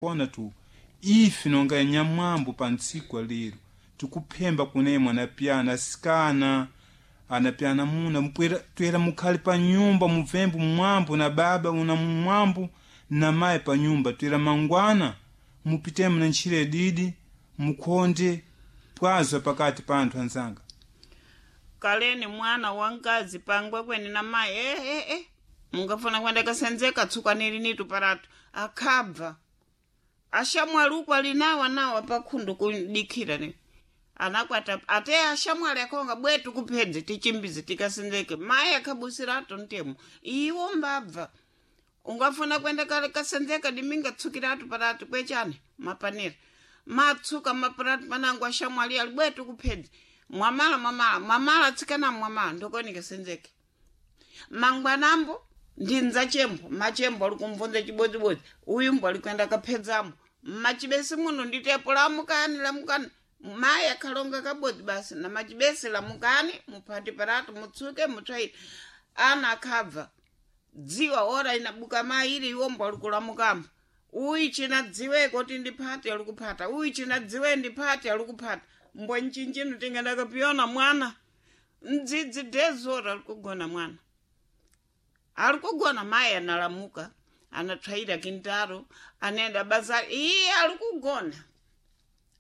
Ona tu ife nonga nyamwambo pa ntsiku lero tikuphemba kunemwe anapyana asikana anapyana muna mupwera twera mukhale pa nyumba mubvembo mwambo na baba una mwambo na mayi pa nyumba twera mangwana mupitemo na ntchire didi mukhonde pwazwa pakati pa anthu anzanga. Kaleni mwana wankazi pangwe kweni na mayi eh. Mungafuna kwenda kasenzeka tsukanili nitu paratu akhabva ashamwali uku ali nawa nawa pakhundu kudikhira ni anakwata ate ashamwali akhonga bwetu kuphedze tichimbize tikasenzeke mayi akhabusirato ntemo iwo mbabva ungafuna kwenda kasenzeka diminga tsukiratu paratu kwechani mapanera matsuka maparatu panango ashamwali ali bwetu kuphedze mwamala mwamala mwamala tsikana mwamala ndokoni kasenzeke mangwanambo ndinza chembo machembo ali kumvunza chibodzibodzi uyu mbo ali kuenda kaphedzamo mmachibesi muno nditepo lamukani lamukani mayi akhalonga kabodzi basi na machibesi lamukani muphati paratu mutsuke mutswaire ana akhabva dziwa ora inabuka mayi ili iwombo ali kulamukamo uyu china dziweko kuti ndiphate ali kuphata uyu china dziwe ndiphate ali kuphata mbwa nchinchino tingandakapiyona mwana mdzidzi dezora ali kugona mwana ali kugona mayi analamuka anatswaira kintaro anaenda bazari iye ali kugona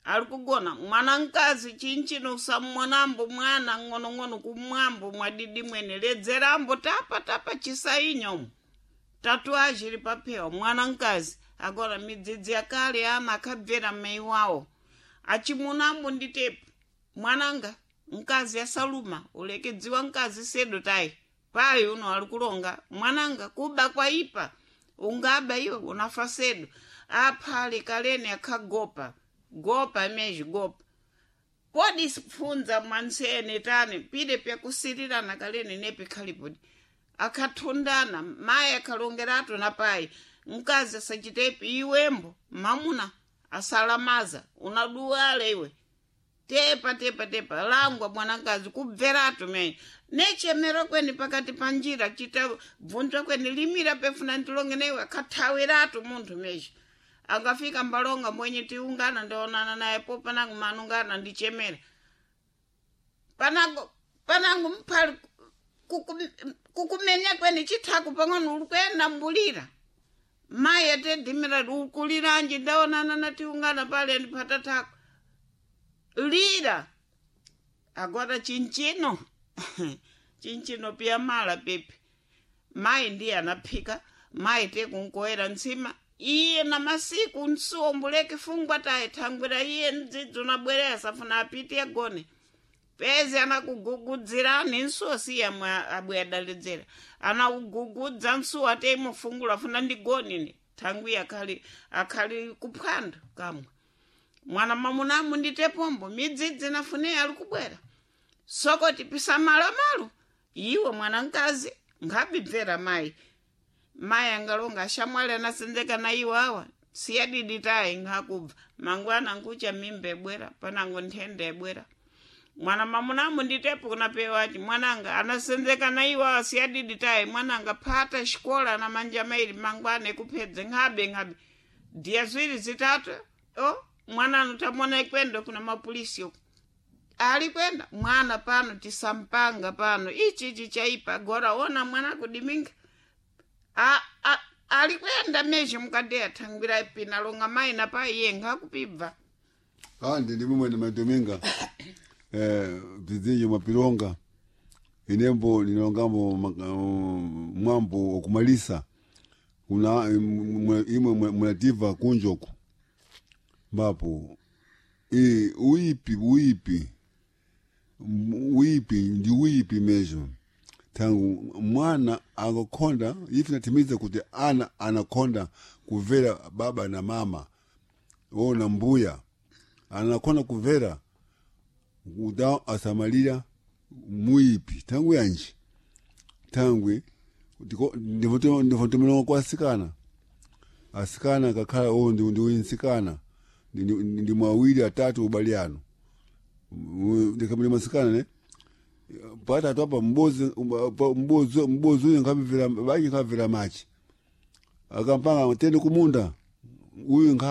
ali kugona mwana mkazi chinchino usammonambo mwana ng'onong'ono kumwambo mwadidi mwene ledzerambo tapa tapa chisainyomo tatuaji ili paphewa mwana mkazi agora midzidzi yakale ana akhabvera mai wawo achimunambo nditepo mwananga mkazi asaluma ulekedziwa mkazi sedo tayi payi uno ali kulonga mwananga kuba kwaipa ungaba iwe unafa sedo aphale kaleni akhagopa gopa mezhi gopa kodi funza mwansene tani pide pyakusirirana kaleni nepi khalipodi akhathundana mayi akhalongeratu na payi mkazi asachitepi iwembo mamuna asalamaza unaduwala iwe tepa tepa tepa langwa mwanakazi kubveratu mene nechemera kweni pakati pa njira chita bvunzwa kweni limira pefuna ndilonge neiwe akhathawiratu munthu mesha akafika mbalonga mwenye tiungana ndionana naye po panango manungana ndichemera panango panango mphali kukumenya kweni chithaku pang'ono uli mbulira mayi atedhimira ukuliranji ndaonana natiungana pale ndiphatatako lira agora chinchino chinchino piya mala pepi mayi ndiye anaphika mayi tekunkoera ntsima iye na masiku nsuwombuleke fungwa tayi thangwira iye mdzidzi unabwerera asafuna apite agone pezi anakugugudzirani nsuwo siye amwe abwe adaledzera anakugugudza nsuwo ate imufungula afuna ndigonine thangwi akhali akhali kuphwando kamwe mwana mamunamu nditepombo midzidzi nafune ali kubwera sokoti pisamalo iwe mwana mkazi ngabibvera mayi mayi angalonga ashamwali anasenzeka na iwo awa siyadidi tayi ngakubva mangwana nkucha mimba ebwera panango nthenda ebwera mwana mamunamu nditepo kunapewa ati mwananga anasenzeka na iwo awa siyadidi tayi mwananga phata xikola na manja maili mangwana ekuphedze nghabe nghabe diya ziwiri zitatu o mwana anotamona ikwenda kuna mapolisi uko ali kwenda mwana pano tisampanga pano ichi ichi chaipa gora ona mwana kudiminga ali kwenda mezhe mukadeya thangwira pina longa mayi na payi iye ngakupibva Ah, ndi ndimwe madominga bzizinji mapilonga inembo ninongambo mwambo wakumalisa kuna imwe mulativa kunjoku mbapo uipi uipi uipi ndi uipi mesho tangu mwana akakonda ife natimiza kuti ana anakonda kuvera baba na mama ona mbuya anakonda kuvera kuda asamalira muipi tangu yanji tangwe ndivotomelonga kwa asikana asikana kakhala o ndiwinsikana ndi mwawiri atatu ubali ano ndikamuli masikana ne patatu apa mbozi mbozi mbozi uyu nkhamvera bayi nkhamvera machi akampanga tende kumunda uyu nkha.